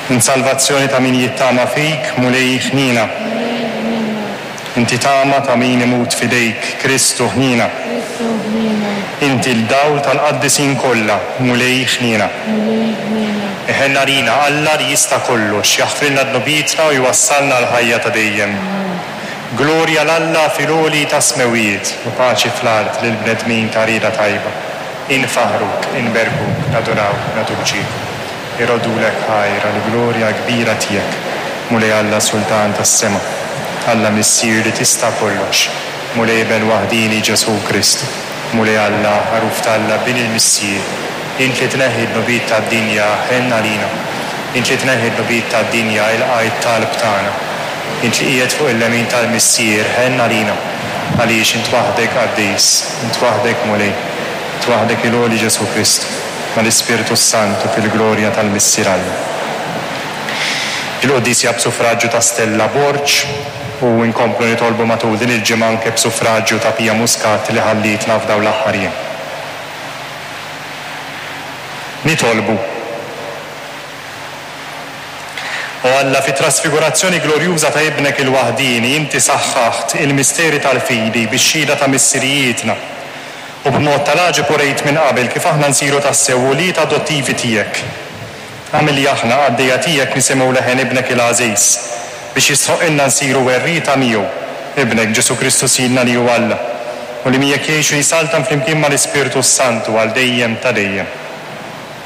Int salvazzjoni ta' min jittama fik, Mulej, ħniena. Mulej, ħniena. Inti tama ta' min imut f'idejk, Kristu, ħniena. Kristu, ħniena. Inti l-dawl tal-qaddisin kollha, Mulej, ħniena. Mulej, ħniena. Iħenn għalina Alla li jista' kollox, jaħfrilna dnubietna u jwassalna għall-ħajja ta' dejjem. Glorja 'l Alla fil-għoli tas-smewwiet, u paċi fl-art lill-bnedmin ta' rieda tajba. Infaħħruk, inberkuk, nadurawk, nagħtuk ġieħ. Iroddulek ħajr għall-glorja kbira tiegħek, Mulej Alla Sultan tas-sema, Alla Missier li tista' kollox, Mulej Iben waħdieni Ġesù Kristu, Mulej Alla, Ħaruf t'Alla, Bin il-Missier, int li tneħħi d-dnubiet tad-dinja, ħenn għalina. Int li tneħħi d-dnubiet tad-dinja, ilqa' t-talb tagħna. Int li qiegħed fuq il-lemin tal-Missier, ħenn għalina. Għaliex int waħdek qaddis, int waħdek Mulej, int waħdek il-għoli Ġesù Kristu. mal-Ispirtu s-Santu fil-glorja tal-Missier Alla. Il-quddies hija b'suffraġġju ta' Stella Borg u nkomplu nitolbu matul din il-ġimgħa anke b'suffraġġju ta' Pia Muscat li ħallietna f'dawn l-aħħar jiem. Nitolbu. O Alla, fit-trasfigurazzjoni glorjuża ta' Ibnek il-waħdieni inti saħħaħt il-misteri tal-fidi bix-xhieda ta' missirijietna, U b'mod tal-għaġeb urejt minn qabel kif aħna nsiru tassew ulied adottivi tiegħek. Agħmel li aħna, qaddejja tiegħek, nisimgħu leħen Ibnek il-għażiż, biex jistħoqqilna nsiru werrieta miegħu, Ibnek, Ġesù Kristu Sidna li hu Alla, u li miegħek jgħix u jsaltan flimkien mal-Ispirtu s-Santu għal dejjem ta' dejjem.